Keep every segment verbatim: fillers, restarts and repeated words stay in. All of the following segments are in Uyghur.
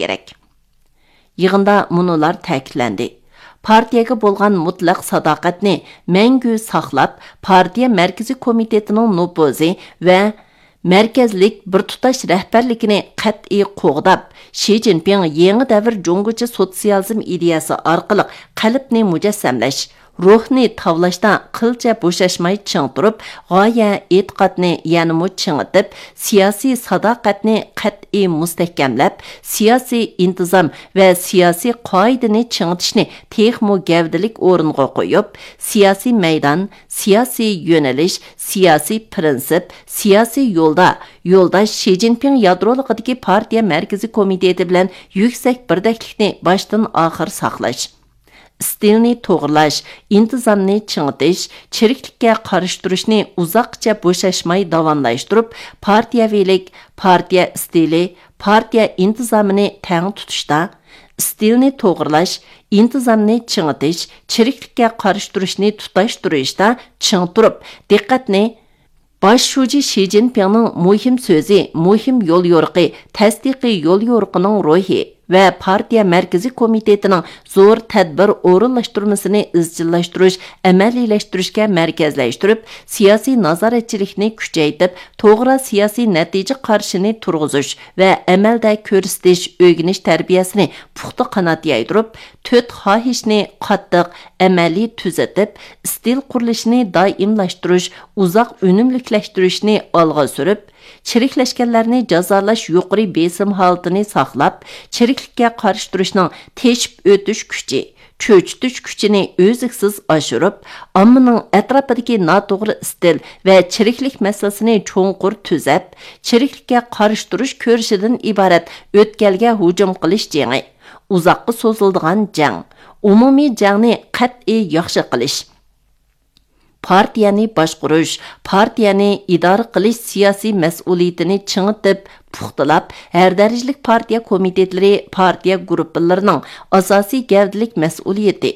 كېرەك. يىغىندا مۇنۇلار تەكىتلەندى: پارتىيەگە بولغان مۇتلەق ساداقەتنى مەڭگۈ ساقلاپ، پارتىيە مەركىزىي كومىتېتىنىڭ نوپۇزى ۋە مەركەزلىك بىر تۇتاش رەھبەرلىكىنى قەتئىي قوغداپ، شى جىنپىڭ يېڭى دەۋر جۇڭگوچە سوتسىيالىزم ئىدىيەسى ئارقىلىق قەلبنى مۇجەسسەملەش، روھنى تاۋلاشتا قىلچە بوشاشماي چىڭ تۇرۇپ، غايە، ئېتىقادنى يەنىمۇ چىڭىتىپ، سىياسىي ساداقەتنى قەتئىي مۇستەھكەملەپ، سىياسىي ئىنتىزام ۋە سىياسىي قائىدىنى چىڭىتىشنى تېخىمۇ گەۋدىلىك ئورۇنغا قويۇپ، سىياسىي مەيدان، سىياسىي يۆنىلىش، سىياسىي پىرىنسىپ، سىياسىي يولدا يولداش شى جىنپىڭ يادرولۇقىدىكى پارتىيە مەركىزىي كومىتېتى بىلەن يۈكسەك بىردەكلىكنى باشتىن ئاخىر ساقلاش. ئىستىلنى توغرىلاش، ئىنتىزامنى چىڭىتىش، چىرىكلىككە قارشى تۇرۇشنى ئۇزاققىچە بوشاشماي داۋاملاشتۇرۇپ، پارتىيەۋىلىك، پارتىيە ئىستىلى، پارتىيە ئىنتىزامىنى تەڭ تۇتۇشتا، ئىستىلنى توغرىلاش، ئىنتىزامنى چىڭىتىش، چىرىكلىككە قارشى تۇرۇشنى تۇتاشتۇرۇشتا چىڭ تۇرۇپ، دىققەتنى باش شۇجى شى جىنپىڭنىڭ مۇھىم سۆزى، مۇھىم يوليورۇقى، تەستىقىي يوليورۇقىنىڭ روھى ۋە پارتىيە مەركىزىي كومىتېتىنىڭ زور تەدبىر ئورۇنلاشتۇرمىسىنى ئىزچىللاشتۇرۇش، ئەمەلىيلەشتۈرۈشكە مەركەزلەشتۈرۈپ، سىياسىي نازارەتچىلىكنى كۈچەيتىپ، توغرا سىياسىي نەتىجە قارىشىنى تۇرغۇزۇش ۋە ئەمەلدە كۆرسىتىش، ئۆگىنىش تەربىيەسىنى پۇختا قانات يايدۇرۇپ، تۆت خاھىشنى قاتتىق، ئەمەلىي تۈزىتىپ، ئىستىل قۇرۇلۇشىنى دائىملاشتۇرۇش، ئۇزاق ئۈنۈملۈكلەشتۈرۈشنى ئالغا سۈرۈپ، چىرىكلەشكەنلەرنى جازالاش يۇقىرى بېسىم ھالىتىنى ساقلاپ، چىرىكلىككە قارشى تۇرۇشنىڭ تېشىپ ئۆتۈش كۈچى، چۆچۈتۈش كۈچىنى ئۈزلۈكسىز ئاشۇرۇپ، ئاممىنىڭ ئەتراپىدىكى ناتوغرا ئىستىل ۋە چىرىكلىك مەسىلىسىنى چوڭقۇر تۈزەپ، چىرىكلىككە قارشى تۇرۇش كۈرىشىدىن ئىبارەت ئۆتكەلگە ھۇجۇم قىلىش جېڭى، ئۇزاققا سوزۇلىدىغان جەڭ، ئومۇمىي جەڭنى قەتئىي ياخشى قىلىش، پارتىيەنى باشقۇرۇش، پارتىيەنى ئىدارە قىلىش سىياسىي مەسئۇلىيىتىنى چىڭىتىپ، پۇختىلاپ، ھەر دەرىجىلىك پارتىيە كومىتېتلىرى، پارتىيە گۇرۇپپىلىرىنىڭ ئاساسىي گەۋدىلىك مەسئۇلىيىتى،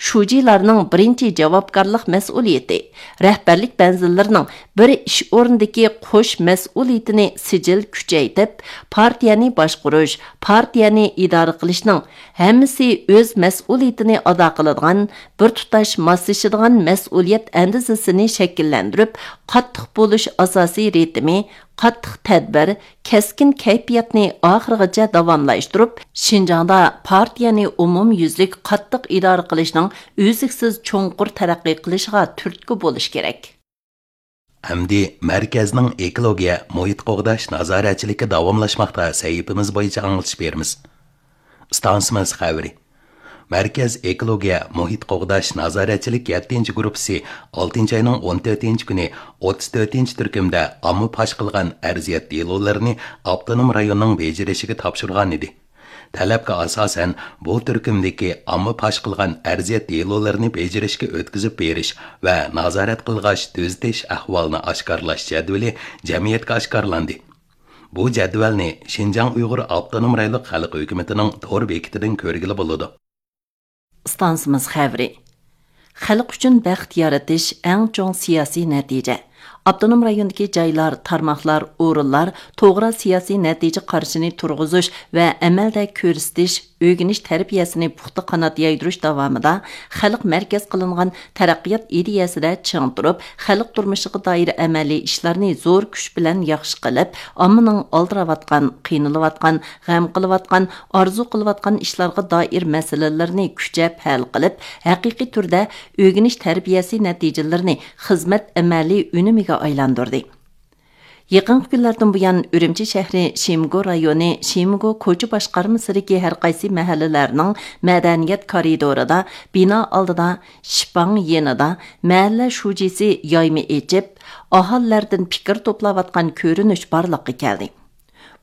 شۇجىلارنىڭ بىرىنچى جاۋابكارلىق مەسئۇلىيىتى، رەھبەرلىك مەنزىللىرىنىڭ بىر ئىش ئورنىدىكى قوش مەسئۇلىيىتىنى سىجىل كۈچەيتىپ، پارتىيەنى باشقۇرۇش، پارتىيەنى ئىدارە قىلىشنىڭ ھەممىسى ئۆز مەسئۇلىيىتىنى ئادا قىلىدىغان، بىر تۇتاش ماسلىشىدىغان مەسئۇلىيەت ئەندىزىسىنى شەكىللەندۈرۈپ، قاتتىق بولۇش ئاساسىي رىتىمى، قاتتىق تەدبىر، كەسكىن كەيپىياتنى ئاخىرغىچە داۋاملاشتۇرۇپ، شىنجاڭدا پارتىيەنى ئومۇميۈزلۈك قاتتىق ئىدارە قىلىشنىڭ ئۈزلۈكسىز چوڭقۇر تەرەققىي قىلىشىغا تۈرتكە بولۇش كېرەك. ئەمدى مەركەزنىڭ ئېكولوگىيە، مۇھىت قوغداش نازارەتچىلىكى داۋاملاشماقتا سەھىپىمىز بويىچە ئاڭلىتىش بېرىمىز. ئىستانسىمىز خەۋىرى. مەركەز ئېكولوگىيە، مۇھىت قوغداش نازارەتچىلىك يەتتىنچى گۇرۇپپىسى ئالتىنچى ئاينىڭ ئون تۆتىنچى كۈنى ئوتتۇز تۆتىنچى تۈركۈمدە ئامما پاش قىلغان ئەرزىيەت دېلولىرىنى ئاپتونوم رايوننىڭ بېجىرىشىگە تاپشۇرغان ئىدى. تەلەپكە ئاساسەن، بۇ تۈركۈمدىكى ئامما پاش قىلغان ئەرزىيەت دېلولىرىنى بېجىرىشكە ئۆتكۈزۈپ بېرىش ۋە نازارەت قىلغاچ تۈزىتىش ئەھۋالىنى ئاشكارىلاش جەدۋىلى جەمئىيەتكە ئاشكارىلاندى. بۇ جەدۋەلنى شىنجاڭ ئۇيغۇر ئاپتونوم رايونلۇق خەلق ھۆكۈمىتىنىڭ تور بېكىتىدىن كۆرگىلى بولىدۇ. ئىستانسىمىز خەۋىرى. خەلق ئۈچۈن بەخت يارىتىش ئەڭ چوڭ سىياسىي نەتىجە. ئاپتونوم رايوندىكى جايلار، تارماقلار، ئورۇنلار توغرا سىياسىي نەتىجە قارىشىنى تۇرغۇزۇش ۋە ئەمەلدە كۆرسىتىش، ئۆگىنىش تەربىيەسىنى پۇختا قانات يايدۇرۇش داۋامىدا خەلق مەركەز قىلىنغان تەرەققىيات ئىدىيەسىدە چىڭ تۇرۇپ، خەلق تۇرمۇشىغا دائىر ئەمەلىي ئىشلارنى زور كۈچ بىلەن ياخشى قىلىپ، ئاممىنىڭ ئالدىراۋاتقان، قىينىلىۋاتقان، غەم قىلىۋاتقان، ئارزۇ قىلىۋاتقان ئىشلارغا دائىر مەسىلىلىرىنى كۈچەپ ھەل قىلىپ، ھەقىقىي تۈردە ئۆگىنىش تەربىيەسى نەتىجىلىرىنى خىزمەت ئەمەلىي ئۈنۈمىگە ئايلاندۇردى. يېقىنقى كۈنلەردىن بۇيان، ئۈرۈمچى شەھىرى شىمگو رايونى شىمگو كوچا باشقارمىسىدىكى ھەر قايسى مەھەللىلەرنىڭ مەدەنىيەت كارىدورىدا، بىنا ئالدىدا، شىپاڭ يېنىدا مەھەللە شۇجىسى يايما ئېچىپ، ئاھالىلەردىن پىكىر توپلاۋاتقان كۆرۈنۈش بارلىققا كەلدى.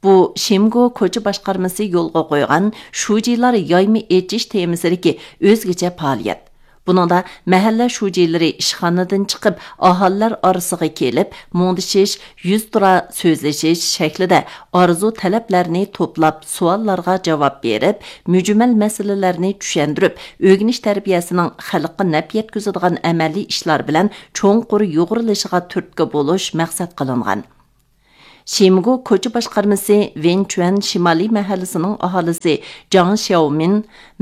بۇ شىمگو كوچا باشقارمىسى يولغا قويغان شۇجىلار يايما ئېچىش تېمىسىدىكى ئۆزگىچە پائالىيەت. بۇنىڭدا مەھەللە شۇجىلىرى ئىشخانىدىن چىقىپ، ئاھالىلەر ئارىسىغا كېلىپ، مۇڭدىشىش، يۈزتۇرا سۆزلىشىش شەكلىدە ئارزۇ تەلەپلەرنى توپلاپ، سوئاللارغا جاۋاب بېرىپ، مۈجمەل مەسىلىلەرنى چۈشەندۈرۈپ، ئۆگىنىش تەربىيەسىنىڭ خەلققە نەپ يەتكۈزىدىغان ئەمەلىي ئىشلار بىلەن چوڭقۇر يۇغۇرۇلۇشىغا تۈرتكە بولۇش مەقسەت قىلىنغان. شىمگو كوچا باشقارمىسى ۋېنچۈەن شىمالىي مەھەللىسىنىڭ ئاھالىسى جاڭ شياۋمىن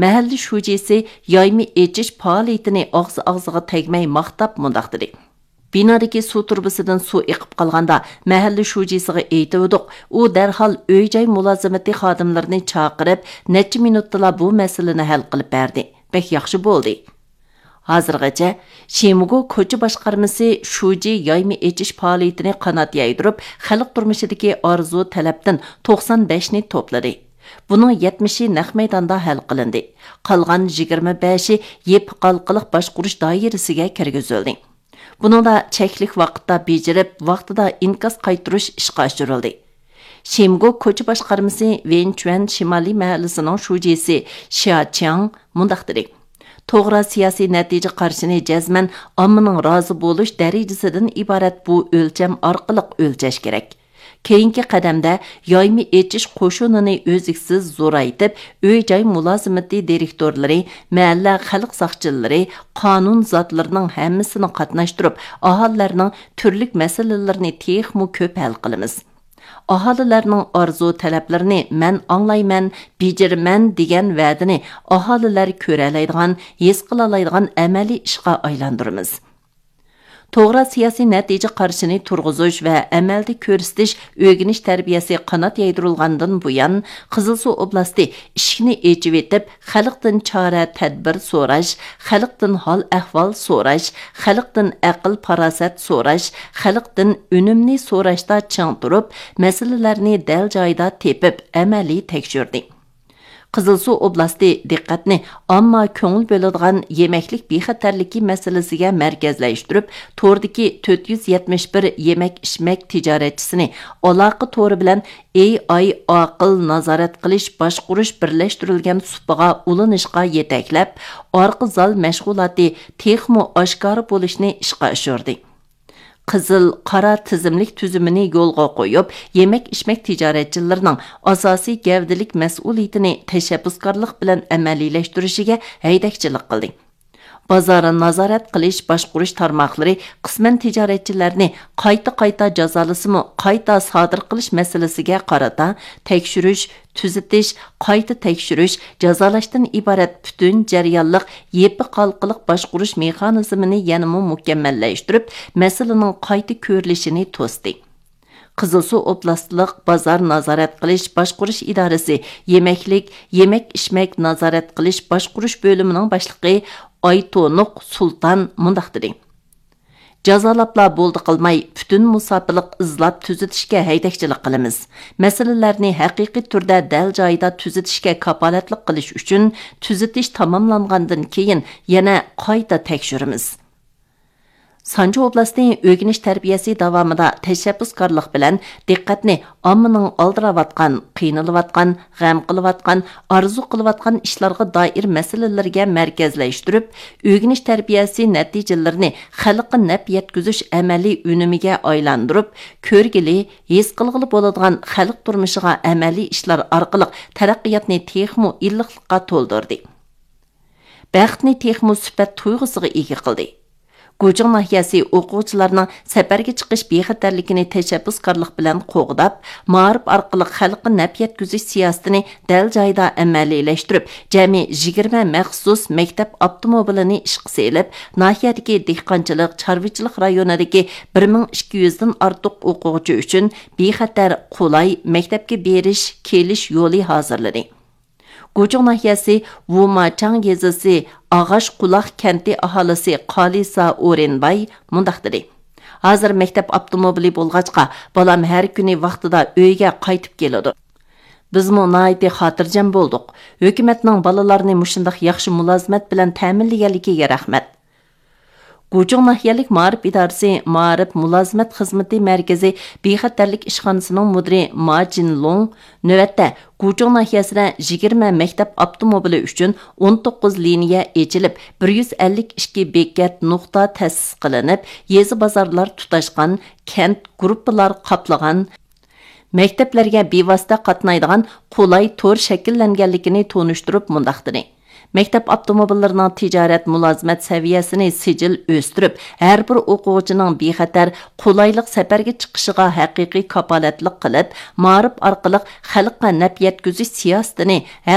مەھەللە شۇجىسى يايما ئېچىش پائالىيىتىنى ئاغزى ئاغزىغا تەگمەي ماختاپ مۇنداق دېدى: بىنادىكى سۇ تۇرۇبىسىدىن سۇ ئېقىپ قالغاندا، مەھەللە شۇجىسىغا ئېيتىۋىدۇق، ئۇ دەرھال ئۆي جاي مۇلازىمىتى خادىملىرىنى چاقىرىپ، نەچچە مىنۇتتىلا بۇ مەسىلىنى ھەل قىلىپ بەردى. بەك ياخشى بولدى. ھازىرغىچە شىمگو كوچا باشقارمىسى شۇجى يايما ئېچىش پائالىيىتىنى قانات يايدۇرۇپ، خەلق تۇرمۇشىدىكى ئارزۇ تەلەپتىن توقسان بەشنى توپلىدى. بۇنىڭ يەتمىشى نەق مەيداندا ھەل قىلىندى. قالغان يىگىرمە بەشى يېپىق ھالقىلىق باشقۇرۇش دائىرىسىگە كىرگۈزۈلدى. بۇنىڭدا چەكلىك ۋاقىتتا بېجىرىپ، ۋاقتىدا ئىنكاس قايتۇرۇش ئىشقا ئاشۇرۇلدى. شىمگو كوچا باشقارمىسى ۋېنچۈەن شىمالىي مەھەللىسىنىڭ شۇجىسى شيا چياڭ مۇنداق دېدى: توغرا سىياسىي نەتىجە قارىشىنى جەزمەن ئاممىنىڭ رازى بولۇش دەرىجىسىدىن ئىبارەت بۇ ئۆلچەم ئارقىلىق ئۆلچەش كېرەك. كېيىنكى قەدەمدە يايما ئېچىش قوشۇنىنى ئۈزلۈكسىز زورايتىپ، ئۆي جاي مۇلازىمىتى دىرېكتورلىرى، مەھەللە خەلق ساقچىلىرى، قانۇن زاتلىرىنىڭ ھەممىسىنى قاتناشتۇرۇپ، ئاھالىلەرنىڭ تۈرلۈك مەسىلىلىرىنى تېخىمۇ كۆپ ھەل قىلىمىز. ئاھالىلەرنىڭ ئارزۇ تەلەپلىرىنى مەن ئاڭلايمەن، بېجىرىمەن دېگەن ۋەدىنى ئاھالىلەر كۆرەلەيدىغان، ھېس قىلالايدىغان ئەمەلىي ئىشقا ئايلاندۇرىمىز. توغرا سىياسىي نەتىجە قارىشىنى تۇرغۇزۇش ۋە ئەمەلدە كۆرسىتىش ئۆگىنىش تەربىيەسى قانات يايدۇرۇلغاندىن بۇيان، قىزىلسۇ ئوبلاستى ئىشىكنى ئېچىۋېتىپ، خەلقتىن چارە تەدبىر سوراش، خەلقتىن ھال ئەھۋال سوراش، خەلقتىن ئەقىل پاراسەت سوراش، خەلقتىن ئۈنۈمنى سوراشتا چىڭ تۇرۇپ، مەسىلىلەرنى دەل جايىدا تېپىپ، ئەمەلىي تەكشۈردى. قىزىلسۇ ئوبلاستى دىققەتنى ئامما كۆڭۈل بۆلىدىغان يېمەكلىك بىخەتەرلىكى مەسىلىسىگە مەركەزلەشتۈرۈپ، توردىكى تۆت يۈز يەتمىش بىر يېمەك ئىچمەك تىجارەتچىسىنى ئالاقە تورى بىلەن ئېي ئاي ئاقىل نازارەت قىلىش باشقۇرۇش بىرلەشتۈرۈلگەن سۇپىغا ئۇلىنىشقا يېتەكلەپ، ئارقا زال مەشغۇلاتى تېخىمۇ ئاشكارا بولۇشنى ئىشقا ئاشۇردى. قىزىل، قارا تىزىملىك تۈزۈمىنى يولغا قويۇپ، يېمەك ئىچمەك تىجارەتچىلىرىنىڭ ئاساسىي گەۋدىلىك مەسئۇلىيىتىنى تەشەببۇسكارلىق بىلەن ئەمەلىيلەشتۈرۈشىگە ھەيدەكچىلىك قىلدى. بازار نازارەت قىلىش باشقۇرۇش تارماقلىرى قىسمەن تىجارەتچىلەرنى قايتا قايتا جازالىسىمۇ، قايتا سادىر قىلىش مەسىلىسىگە قارىتا تەكشۈرۈش، تۈزىتىش، قايتا تەكشۈرۈش، جازالاشتىن ئىبارەت پۈتۈن جەريانلىق يېپىق ھالقىلىق باشقۇرۇش مېخانىزمىنى يەنىمۇ مۇكەممەللەشتۈرۈپ، مەسىلىنىڭ قايتا كۆرۈلۈشىنى توستى. قىزىلسۇ ئوبلاستلىق بازار نازارەت قىلىش باشقۇرۇش ئىدارىسى يېمەكلىك، يېمەك ئىچمەك نازارەت قىلىش باشقۇرۇش بۆلۈمىنىڭ باشلىقى ئايتونۇق سۇلتان مۇنداق دېدى: جازالاپلا بولدى قىلماي، پۈتۈن مۇساپىلىق ئىزلاپ تۈزىتىشكە ھەيدەكچىلىك قىلىمىز. مەسىلىلەرنى ھەقىقىي تۈردە دەل جايىدا تۈزىتىشكە كاپالەتلىك قىلىش ئۈچۈن، تۈزىتىش تاماملانغاندىن كېيىن يەنە قايتا تەكشۈرىمىز. سانجى ئوبلاستى ئۆگىنىش تەربىيەسى داۋامىدا تەشەببۇسكارلىق بىلەن دىققەتنى ئاممىنىڭ ئالدىراۋاتقان، قىينىلىۋاتقان، غەم قىلىۋاتقان، ئارزۇ قىلىۋاتقان ئىشلارغا دائىر مەسىلىلىرىگە مەركەزلەشتۈرۈپ، ئۆگىنىش تەربىيەسى نەتىجىلىرىنى خەلققە نەپ يەتكۈزۈش ئەمەلىي ئۈنۈمىگە ئايلاندۇرۇپ، كۆرگىلى، ھېس قىلغىلى بولىدىغان خەلق تۇرمۇشىغا ئەمەلىي ئىشلار ئارقىلىق تەرەققىياتنى تېخىمۇ ئىللىقلىققا تولدۇردى. بەختنى تېخىمۇ سۈپەت تۇيغۇسىغا ئىگە قىلدى. گۇچۇڭ ناھىيەسى ئوقۇغۇچىلارنىڭ سەپەرگە چىقىش بىخەتەرلىكىنى تەشەببۇسكارلىق بىلەن قوغداپ، مائارىپ ئارقىلىق خەلققە نەپ يەتكۈزۈش سىياسىتىنى دەل جايىدا ئەمەلىيلەشتۈرۈپ، جەمئىي يىگىرمە مەخسۇس مەكتەپ ئاپتوموبىلىنى ئىشقا سېلىپ، ناھىيەدىكى دېھقانچىلىق، چارۋىچىلىق رايونىدىكى بىر مىڭ ئىككى يۈزدىن ئارتۇق ئوقۇغۇچى ئۈچۈن بىخەتەر، قولاي مەكتەپكە بېرىش، كېلىش يولى ھازىرلىدى. گۇچۇڭ ناھىيەسى ۋۇماچاڭ يېزىسى ئاغاچ قۇلاق كەنتى ئاھالىسى قالىسا ئورېنباي مۇنداق دېدى: ھازىر مەكتەپ ئاپتوموبىلى بولغاچقا، بالام ھەر كۈنى ۋاقتىدا ئۆيگە قايتىپ كېلىدۇ. بىزمۇ ناھايىتى خاتىرجەم بولدۇق. ھۆكۈمەتنىڭ بالىلارنى مۇشۇنداق ياخشى مۇلازىمەت بىلەن تەمىنلىگەنلىكىگە رەھمەت. گۇچۇڭ ناھىيەلىك مائارىپ ئىدارىسى مائارىپ مۇلازىمەت خىزمىتى مەركىزى بىخەتەرلىك ئىشخانىسىنىڭ مۇدىرى ما جىنلۇڭ نۆۋەتتە گۇچۇڭ ناھىيەسىدە يىگىرمە مەكتەپ ئاپتوموبىلى ئۈچۈن ئون توققۇز لىنىيە ئېچىلىپ، بىر يۈز ئەللىك ئىككى بېكەت نۇقتا تەسىس قىلىنىپ، يېزا بازارلار تۇتاشقان، كەنت گۇرۇپپىلار قاپلىغان، مەكتەپلەرگە بىۋاسىتە قاتنايدىغان قولاي تور شەكىللەنگەنلىكىنى تونۇشتۇرۇپ مۇنداق دېدى: مەكتەپ ئاپتوموبىللىرىنىڭ تىجارەت مۇلازىمەت سەۋىيەسىنى سىجىل ئۆستۈرۈپ، ھەر بىر ئوقۇغۇچىنىڭ بىخەتەر، قولايلىق سەپەرگە چىقىشىغا ھەقىقىي كاپالەتلىك قىلىپ، مائارىپ ئارقىلىق خەلققە نەپ يەتكۈزۈش سىياسىتىنى